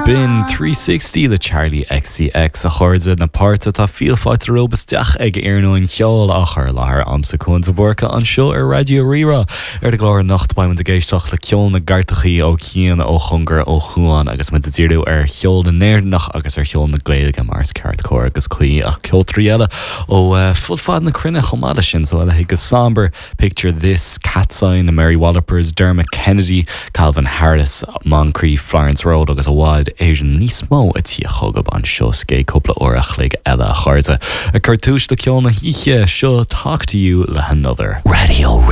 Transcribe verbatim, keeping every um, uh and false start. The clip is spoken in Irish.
B'in three sixty le Charli XCX a chairde na páirte tá fial fáilte romhaibh isteach ag Iarnóin Cheoil á chur i láthair a'msa Cuan de Búrca anseo ar Raidió Rí-Rá. Ar an gclár anocht beidh muid ag éisteacht le ceol na gcairteachaí ó chian ó chóngar ó chuan agus muid ag díriú ar cheol na nÉireannach agus ar cheol na Gaeilge mar is ceart cóir agus cuí ach ceoltóirí eile ó uh, fud fad na cruinne chomh maith leis sin so eile go Somber, Picture This, Catsign, Mary Wallopers, Dermot Kennedy, Calvin Harris, Moncrief, Florence Road agus i bhfad Éireann níos mó ag tíocht chugaibh anseo sa gcéad cúpla uair a chloig eile a chairde. Ag cur tús le ceol na hoíche seo Talk to you le another. Radio